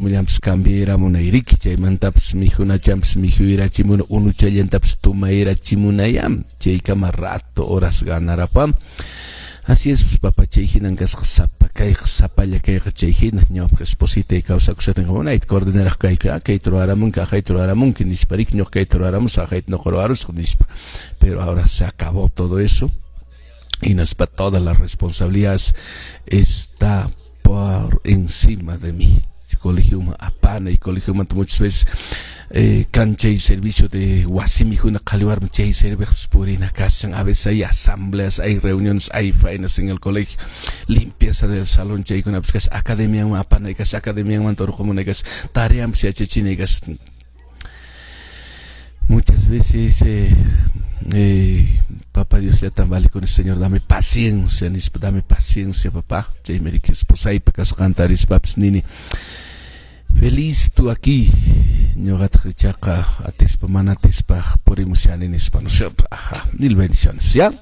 Uniformillanpas cambiayramunay, chaymantapas mikhunachanpas mikhuyrachimuna, unuchallantapas tumayrachimunayam, chaykama rato horas ganarapam. Así es, pues, papá, chay hinan kasqa sapa kayqa, sapalla kayqa chay hina. Ñawpaq espositay kawsakushatin unayta coordinaraq kayku, kayta ruwaramunki, aqayta ruwaramunki nispa, riki, ñuqa kayta ruwaramusaq, aqayta ñuqa ruwarusaq nispa. Pero ahora se acabó todo eso. Hinaspa todas las responsabilidades está por encima de mí. Colegio apana y colegio muchas veces kan chay servicio de wasimi huna qhaliwarmi chay servicios purina kashan. A veces hay asambleas, hay reuniones, hay faenas en el colegio, limpieza del salón, chaykunapas kashan, academiaman apanay kashan, academiamanta urqumunay kashan, tareanpas yachachinay kashan. Muchas veces papá Dios ya tan vale con el Señor, dame paciencia, nispa, dame paciencia, papá. Chaymi riki esposaypa kasqanta rispapas nini: "Feliz tú aquí, ñuqataq ichaqa atispa mana atispa purimushani", nispa, ¿no es cierto? Ajá, mil bendiciones, ¿ya?